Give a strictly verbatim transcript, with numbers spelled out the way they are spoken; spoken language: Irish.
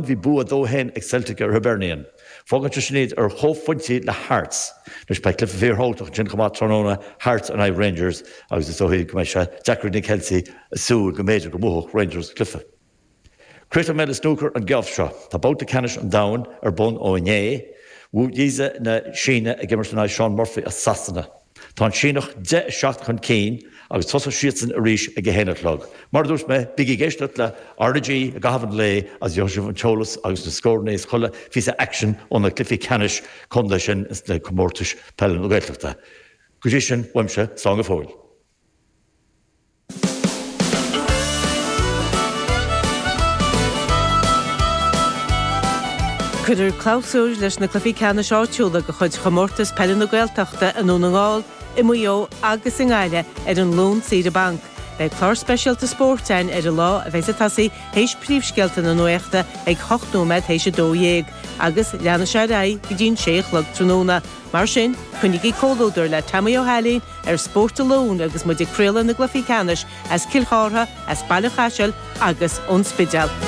bhí bua dó a haon ag Celtic ar Hibernian. Fágann sé sin iad ar chomhphointí le Hearts. Anois beidh cluiche fíorthábhachtach ansin chomh maith tráthnóna, Hearts in aghaidh Rangers agus is dóigh go mbeidh sé deacair ag na Ceiltigh a súil go mb'fhéidir go mbuafadh Rangers cluiche. Críochnóidh mé le snúcar an geábh seo. Tá babhta ceannais an domhain ar bun ó inné. Wu Yize na Síne ag imirt in aghaidh Shaun Murphy as Sasana. Tá an Síneach deich a seacht chun cinn agus tosóidh siadsan arís ag a haon a chlog. Mar a dúirt mé, bígí ag éisteacht le RnaG i gcaitheamh an lae agus gheobhaidh sibh an t-eolas agus na scóranna is chuile phíosa aicsin ó na cluichí ceannais contae sin sna comórtais peile na Gaeltachta. Go dtí sin, uaimse, slán go fóill. Cuirfear clabhsúr leis na cluichí ceannais áitiúla de chuid Chomórtas Peile na Gaeltachta i nDún na nGall, i Maigh Eo agus i nGaillimh ar an Luan saoire banc. Beidh clár speisialta spóirt againn ar an lá a bheidh ag tosaí théis príomhscéalta na nuachta ag hocht nóiméad théis a dó dhéag agus leanfaidh sé ar aghaidh go dtí an sé a chlog tráthnóna. Mar sin, coinnígí comhluadar le Tomaí Ó hAilín ar Spórt an Luain agus muid ag craoladh na gcluichí ceannais as Cill Chártha, as Baile Chaisil agus ón Spidéal.